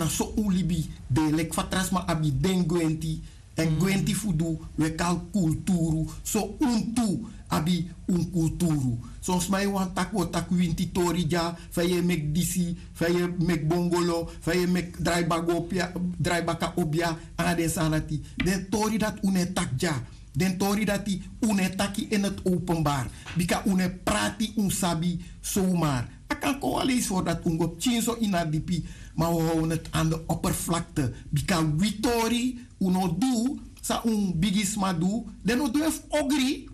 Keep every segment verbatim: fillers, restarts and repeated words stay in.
So un libi de leki fa tra sma abi den gwenti. Èn gwenti fu du, wi e kari kulturu. So un tu abi un kulturu. Son sma e wani tak' wi o taki winti tori dya, fa yu e meki disi, fa yu e meki bongolo, fa yu e meki drai baka opi dya, drai baka opi dya, nanga den sani dati. Den tori dati un no e taki dya. Den tori dati un no e taki ini eti openbari. Bika un no e prati un sabi sowmari. A kan kon wan leisi fori dati un go pikinso ini a dipi. Ma un hownu eti an de operflakte. Bika wi tori un no du san un bigisma du. Den no du en fu ogri.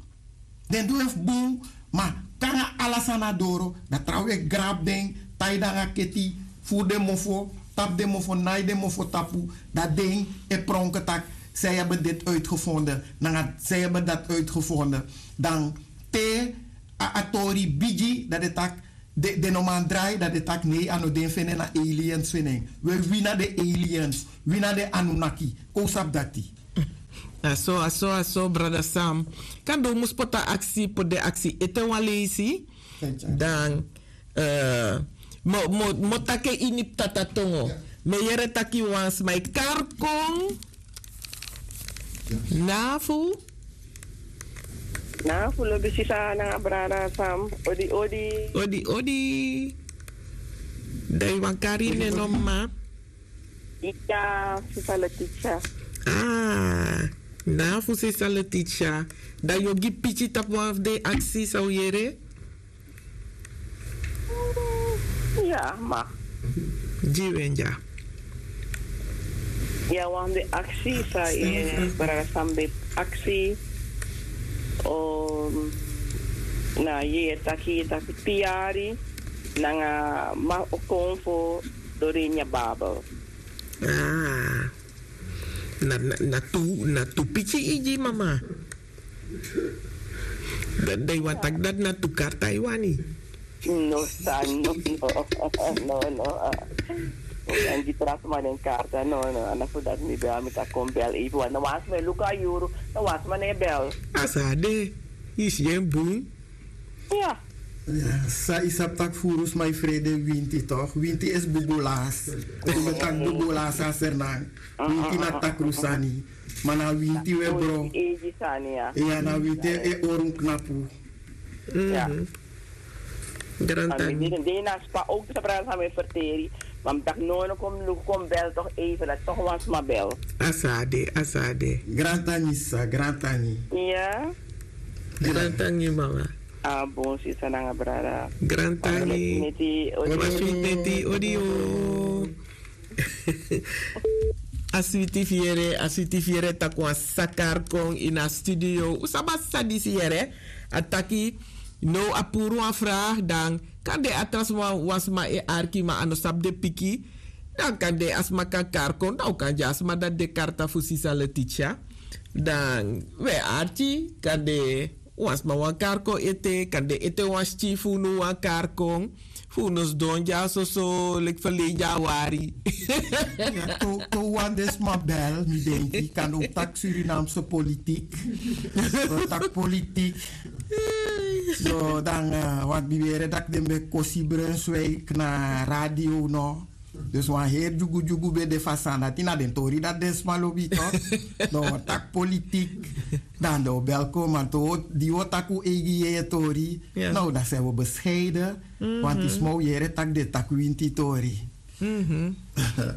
Den du en fu bun. Ma kon nanga ala sani na doro, dan trawan e grabu den, tai den nanga keti, furu den mofo, tapu den mofo, nai den mofo tapu. Dan den e pronke tak' zij hebben dit uitgevonden, nanga zij hebben dat uitgevonden. Dan te a tori bigi, dan den taki, den no man drai, dan den taki nei, a no den feni en, na aliens feni en. We wi na den aliens, wi na den anunaki. Kon un sabi dati. A so a so a so brada sam. Kande un mus poti a aksi poti den aksi ete wan leisi. Dan mi o taki en ini ptata tongo. Mi e yere tak' yu wan sma e kari kon. Na fu? Na fu lobi sisa nanga brada sam. Odi odi. Odi odi. Dan yu wani kari yu nen no mama? Iya, sisa Letitia. Ah, na fu sisa Letitia. Dan yu o gi piki tapu wan fu den aksi san un yere? Iya, ma. Gi wi en dya. Iya, wan fu den aksi san yu e brada san ben aksi. Na yu e taki taki tin yari nanga ma o kon fu dori ini a Bijbel. Ah, na, na, na tu, na tu piki yu gi mama. Dan yu wani taki dati na tu karta yu wani? No, sa, no, no, no, no. Mi kan gi tra sma den karta, no, no, a na fu dati mi bel, mi taki kon bel even wan, na wan sma e luku a yuru, na wan sma no e bel. A sa de, yu si en bun. Iya. San yu sabi tak' furu sma e frede winti tok'? Winti esi bubulas. Un ben taki bubulas a Sranan. Winti na takru sani. Ma na winti un e bron. Iya, na winti e hori un knapu. Grantangi. Den na spa ook sa brada san mi e ferteri. Ma mi taki no, no, kon luku, kon bel tok' even, dati tok' wan sma bel. A sa de, a sa de. Grantangi sa, grantangi. Iya. Grantangi mama. A bun sisa nanga brada. Grantangi. Mama switi neti, odi o. A switi fu yere, a switi fu yere tak' wan sa kari kon ini a studio. Un sabi san disi yere? A taki, no, a puru wan vraag, dan kande a tra sma, wan sma e arki ma a no sabi den piki. Dan kande a sma kan kari kon, dan un kan gi a sma dati den karta fu sisa Letitia. Dan un e arki, kande wan sma wani kari kon ete, kande ete wan skin fu unu wani kari kon. Fu unu sidon dya soso leki ferlei dya wari. Te un wani den sma bel, mi denki, kande un taki Surinaamse politiek. Un taki politiek. So dan, want mi weri dati den ben kosi Brunswijk na radio, no? Dus wan heri dyugudyugu ben de fu a sani dati, na den tori dati den sma lobi tok'. No, taki politiek. Dan den o bel kon, ma di un o taki un eigi yeye tori, no, dan seni un bescheiden. Want yu sma o yere tak' den taki winti tori.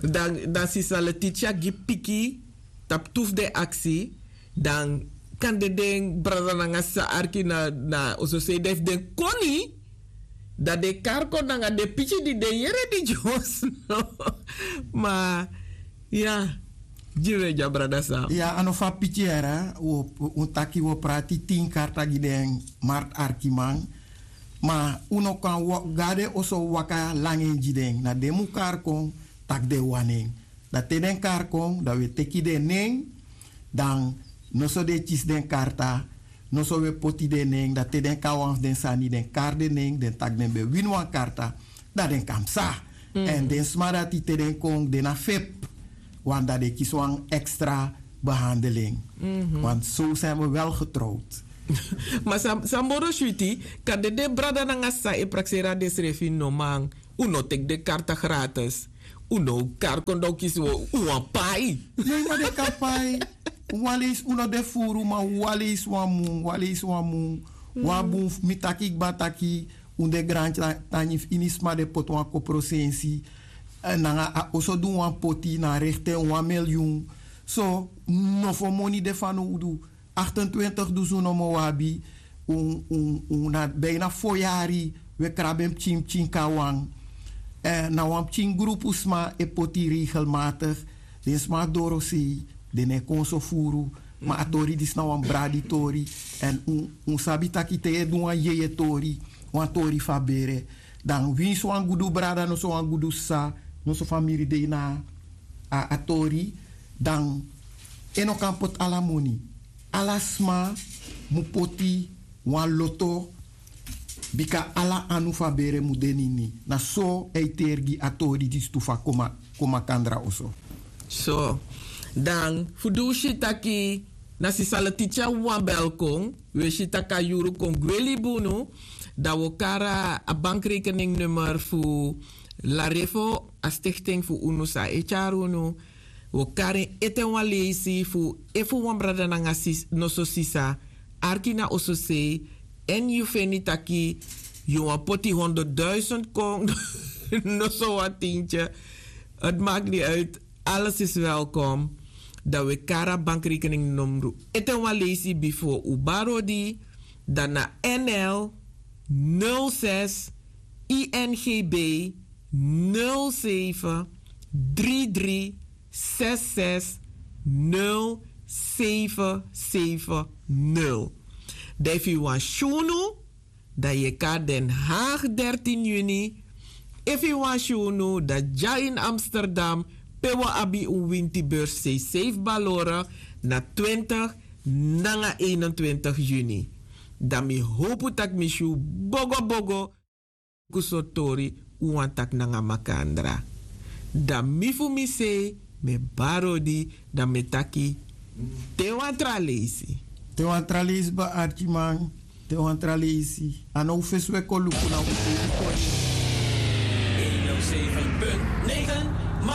Dan sisa Letitia gi piki tapu tu fu den aksi. Dan kande den brada nanga sisa arki na, na, oso sei den fu den koni. Dan den kari kon nanga den piki di den yere di dyonsi no. Ma ya, gi wi e dya brada san. Ya, a no fu a piki yere, un taki un o prati tin karta gi den martu arkiman. Ma un no kan go na den oso waka langa en gi den. Na den mu kari kon, tak' den wani en. Dan te den kari kon, dan un e teki den nen. Dan noso den e kisi den karta. Noso un e poti den nen, dan te den kon na wan fu den sani, den kari den nen, den taki den ben wini wan karta, dan den kan psa. Èn den sma dati te den kon, den na fep. Want dan den kisi wan ekstra behandeling. Want so zijn we wel getrouwd. Ma san moro switi, kande den brada nanga sisa e prakseri na densrefi, no man. Un no teki den karta gratis. Un no kari kon dan un kisi un wan pai. Nei ma den kan pai. Un wan leisi un no de furu ma un wan leisi wan mun wan leisi wan mun. Wan bun mi taki kba taki un de grantangi fu ini sma den poti wan kopro sensi nanga a oso du wan poti na a rekte wan milyun. So nofo moni de fanowdu. Aktentwintig dusun nomo un abi. Un na bina fo yari un e krabi en pikin pikin kon na wan. Na wan pikin grupu sma e poti regelmatik. Den sma a dorosei den no e kon so furu. Ma a tori disi na wan braditori. Èn un sabi tak' te yu e du wan jejetori wan tori fu a bere, dan winsi wan gudu brada noso wan gudu sisa noso famiri de ini a tori, dan en no kan poti ala moni. Ala sma mu poti wan loto. Bika ala anu fu a bere mu de na ini. Na so a e teri gi a tori disi tu fu a kon makandra oso. So dan fu di un si taki na sisa letitia wawan bel kon, un e si tak' a yuru kon gwe libi unu. Dan un o kari a bankrekeningnummer fu larefo a stichting fu unu san e tyari unu. Un o kari en ete wan leisi fu efu wan brada nanga noso sisa arki na ososei, èn yu feni taki yu wani poti honderdduisend kon noso wan tintye. Eti maki ni uit. Alles is welkom. Dan un e kari a bankrekeningnumru ete wan leisi bifo un bari odi. Dan na nl nul zes ingb nul zeven drie drie zes zes nul zeven zeven nul. Dan efu yu wani si unu dan yu e kari den haag dertien juni. Efu yu wani si unu dan dya ini amsterdam, pe wi abi un winti beurs sei sei fu balore na twintig nanga einentwintig juni. Dan mi howpu tak' mi si un bogobogo. Luku sortu tori un wani taki nanga makandra. Dan mi fu mi sei mi e bari odi. Dan mi e taki te wan tra leisi. Te wan tra leisi bari arkiman. Te wan tra leisi a no un fesi un e kon luku na un seisi kon. Eno seven punt negen.